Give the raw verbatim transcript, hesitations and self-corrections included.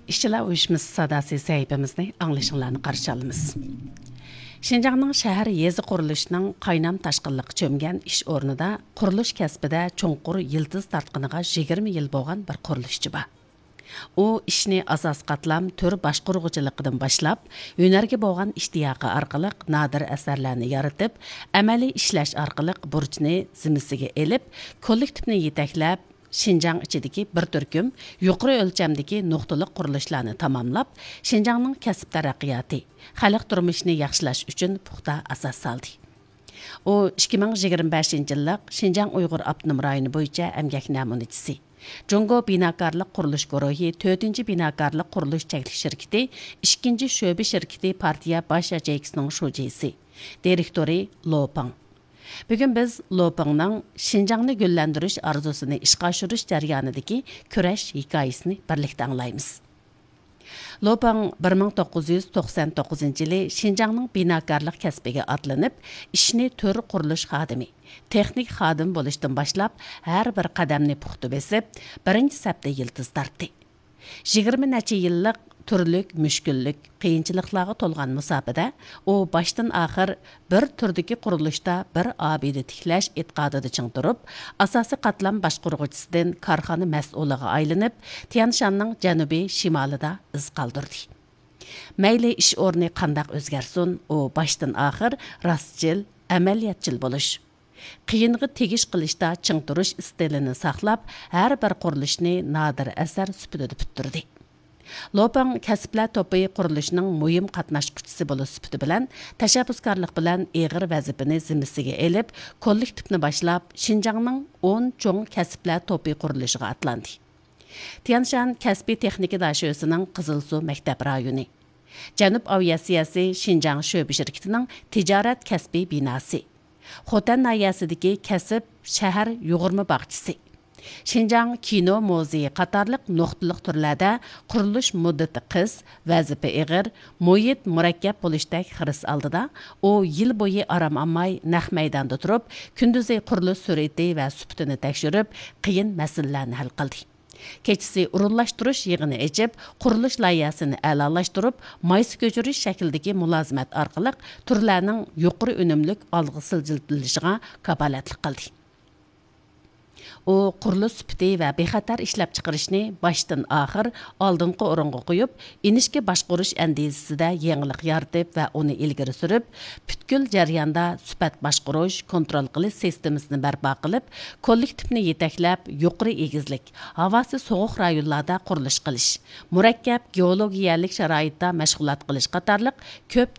ئىشچىلار ئۇيۇشمىسى ساداسى سەھىپىمىزنى ئاڭلىشىڭلارنى قارشى ئالىمىز. شىنجاڭنىڭ شەھەر، يېزا قۇرۇلۇشىنىڭ قاينام تاشقىنلىققا چۆمگەن ئىش ئورنىدا قۇرۇلۇش كەسپىدە چوڭقۇر يىلتىز تارتقىنىغا يىگىرمە يىل بولغان بىر قۇرۇلۇشچى بار. ئۇ ئىشنى ئاساسىي قاتلام تۈر باشقۇرغۇچىلىقىدىن باشلاپ، ھۈنەرگە بولغان ئىشتىياقى ئارقىلىق نادىر ئەسەرلەرنى يارىتىپ، ئەمەلىي ئىشلەش ئارقىلىق بۇرچنى زىممىسىگە ئېلىپ، كوللېكتىپنى يېتەكلەپ، شىنجاڭ ئىچىدىكى بىر تۈركۈم يۇقىرى ئۆلچەمدىكى نۇقتىلىق قۇرۇلۇشلارنى تاماملاپ، شىنجاڭنىڭ كەسىپ تەرەققىياتى، خەلق تۇرمۇشىنى ياخشىلاش ئۈچۈن پۇختا ئاساس سالدى. ئۇ ئىككى مىڭ يىگىرمە بەشىنچى يىللىق شىنجاڭ ئۇيغۇر ئاپتونوم رايونى بويىچە ئەمگەك نەمۇنىچىسى، جۇڭگو بىناكارلىق قۇرۇلۇش گۇرۇھى تۆتىنچى بىناكارلىق قۇرۇلۇش چەكلىك شىركىتى ئىككىنچى شۆبە شىركىتى پارتىيە باش ياچېيكىسىنىڭ شۇجىسى، دىرېكتورى لو پېڭ. بۈگۈن بىز لو پېڭنىڭ شىنجاڭنى گۈللەندۈرۈش ئارزۇسىنى ئىشقا ئاشۇرۇش جەريانىدىكى كۈرەش ھېكايىسىنى بىرلىكتە ئاڭلايمىز. لو پېڭ بىر مىڭ توققۇز يۈز توقسان توققۇزىنچى يىلى شىنجاڭنىڭ بىناكارلىق كەسپىگە ئاتلىنىپ، ئىشنى تۈر قۇرۇلۇش خادىمى، تېخنىك خادىم بولۇشتىن باشلاپ، ھەر بىر قەدەمنى پۇختا بېسىپ، بىرىنچى سەپتە يىلتىز تارتتى. يىگىرمە نەچچە يىللىق تۈرلۈك مۈشكۈللۈك، قىيىنچىلىقلارغا تولغان مۇساپىدە، ئۇ باشتىن ئاخىر بىر تۈردىكى قۇرۇلۇشتا بىر ئابىدە تىكلەش ئېتىقادىدا چىڭ تۇرۇپ، ئاساسىي قاتلام باشقۇرغۇچىسىدىن كارخانا مەسئۇلىغا ئايلىنىپ، تيەنشاننىڭ جەنۇبىي شىمالىدا ئىز قالدۇردى. مەيلى ئىش ئورنى قانداق ئۆزگەرسۇن، ئۇ باشتىن ئاخىر راستچىل، ئەمەلىيەتچىل بولۇش، قىيىنغا تېگىش قىلىشتا چىڭ تۇرۇش ئىستىلىنى ساقلاپ، ھەر بىر قۇرۇلۇشنى نادىر ئەسەر سۈپىتىدە پۈتتۈردى. لو پېڭ كەسىپلەر توپى قۇرۇلۇشىنىڭ مۇھىم قاتناشقۇچىسى بولۇش سۈپىتى بىلەن، تەشەببۇسكارلىق بىلەن ئېغىر ۋەزىپىنى زىممىسىگە ئېلىپ، كوللېكتىپنى باشلاپ، شىنجاڭنىڭ ئون چوڭ كەسىپلەر توپى قۇرۇلۇشىغا ئاتلاندى. تيەنشان كەسپىي تېخنىكا داشۆسىنىڭ قىزىلسۇ مەكتەپ رايونى، جەنۇب ئاۋىئاتسىيەسى شىنجاڭ شۆبە شىركىتىنىڭ تىجارەت كەسپىي بىناسى، خوتەن ناھىيەسىدىكى كەسىپ شەھەر يۇغۇرما باغچىسى، شىنجاڭ كىنو مۇزېيى قاتارلىق نۇقتىلىق تۈرلەردە قۇرۇلۇش مۇددىتى قىس، ۋەزىپە ئېغىر، مۇھىت مۇرەككەپ بولۇشتەك خىرىس ئالدىدا، ئۇ يىل بويى ئارام ئالماي نەق مەيداندا تۇرۇپ، كۈندۈزى قۇرۇلۇش سۈرئىتى ۋە سۈپىتىنى تەكشۈرۈپ، قىيىن مەسىلىلەرنى ھەل قىلدى. كېچىسى ئورۇنلاشتۇرۇش يىغىنى ئېچىپ، قۇرۇلۇش لايىھەسىنى ئەلالاشتۇرۇپ، مايسا كۆچۈرۈش شەكلىدىكى مۇلازىمەت ئارقىلىق تۈرلەرنىڭ يۇقىرى ئۈنۈملۈك ئالغا سىلجىتىلىشىغا كاپالەتلىك قىلدى. ئۇ قۇرۇلۇش سۈپىتى ۋە بىخەتەر ئىشلەپچىقىرىشنى باشتىن ئاخىر ئالدىنقى ئورۇنغا قويۇپ، ئىنچىكە باشقۇرۇش ئەندىزىسىدە يېڭىلىق يارىتىپ ۋە ئۇنى ئىلگىرى سۈرۈپ، پۈتكۈل جەرياندا سۈپەت باشقۇرۇش، كونترول قىلىش سىستېمىسىنى بەرپا قىلىپ، كوللېكتىپنى يېتەكلەپ، يۇقىرى ئېگىزلىك، ھاۋاسى سوغۇق رايونلاردا قۇرۇلۇش قىلىش، مۇرەككەپ گېئولوگىيەلىك شارائىتتا مەشغۇلات قىلىش قاتارلىق كۆپ